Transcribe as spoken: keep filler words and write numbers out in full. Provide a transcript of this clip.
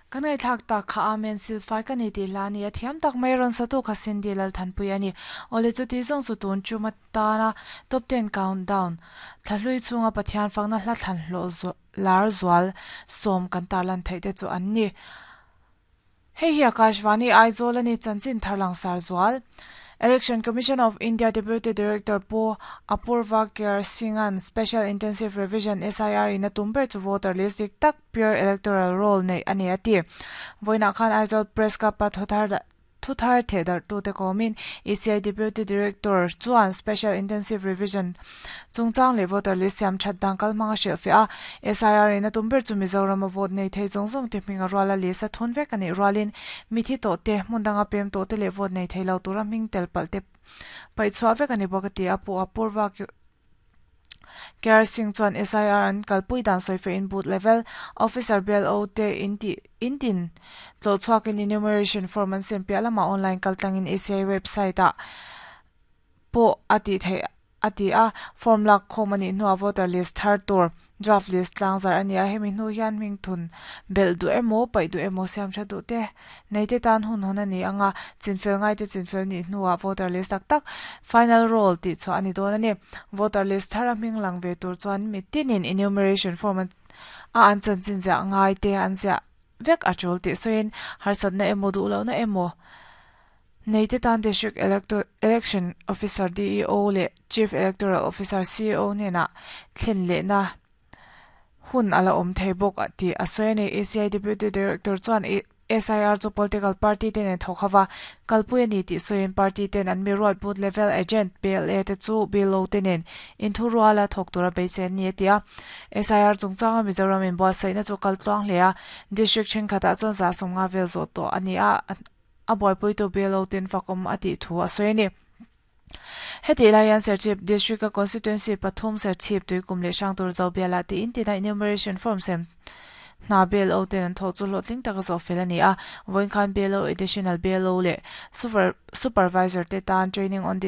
Kan ngaihthlak tak kha Amen silfai ka ni tih hla a ni a, thiam tak mai rawn satu kha Cindy Lalthanpui a ni. Awle chuti zawng chu tun chuma tana Top Ten Countdown thlahlui chunga Pathian fakna hla thlan hlawh lar zual sawm kan tarlan theih te chu an ni. Hei hi Akashvani Aizawl a ni chanchin thar langsar zual. Election Commission of India Deputy Director Pu Apurva K R Singh-a'n Special Intensive Revision, S I R, in a tum ber chu voter list dik tak, pure electoral roll nei a ni a ti. Vawiinah khan Aizawl Press Club-a thuthar thuthar thehdarhtute kawmin E C I Deputy Director chuan Special Intensive Revision chungchang leh voter list siam that dan kal hmanga hrilhfiah a. S I R in a tum ber chu Mizoram a vote nei thei zawng zawng te hming a ruala list a thun vek a nih rualin mithi tawh te, hmun danga pem tawh te leh vote nei thei lo tura hming tel palh te paihchhuah vek a ni bawk a ti a. Pu Apurva K R Singh chuan S I R an kalpui dan sawife in booth level officer, B L O te inti intin tlawh chhuakin enumeration form an sem piah lamah online kaltlangin E C I website ah pawh a tih theih a ti a. Form lak khawm a nih hnuah voter list thar tur draft list tlangzar a ni a. Hemi hnu hian hming thun belh duh emaw, paih duh emaw, siam tha duh te nei te tan hun hawn a ni anga, chinfel ngai te chinfel nih hnuah voter list tak tak, final roll tih chhuah a ni dawn a ni. Voter list thar a hming lang ve tur chuan mi tinin enumeration form a an chanchin ziah ngai te an ziah vek a tul tih sawiin harsatna emaw duh lohna emaw nei te tan District Election Officer, D E O leh Chief Electoral Officer, C E O hnenah thlen lehna hun a la awm thei bawk tih a sawi a ni. E C I Deputy Director chuan S I R chu political party te nen thawk hova kalpui a ni tih sawiin party ten an mi ruat booth level agent, B L A te chu B L O te nen inthu ruala thawk tura beisei an ni a ti a. S I R chungchanga Mizoram in buatsaihna chu kaltluang hle a, district thenkhatah chuan za sawm nga vel zawh tawh a ni a, a buaipuitu B L O ten fakawm a tih thu a sawi a ni. Heti lai hian Serchhip District a constituency pathum, Serchhip, Tuikum leh Hrangtur Zobiala ti in tina enumeration form sem hna B L O ten an thawh chu hlawhtling taka zawh fel a ni a. Vawiin khan B L O, additional B L O leh super supervisor te tan training on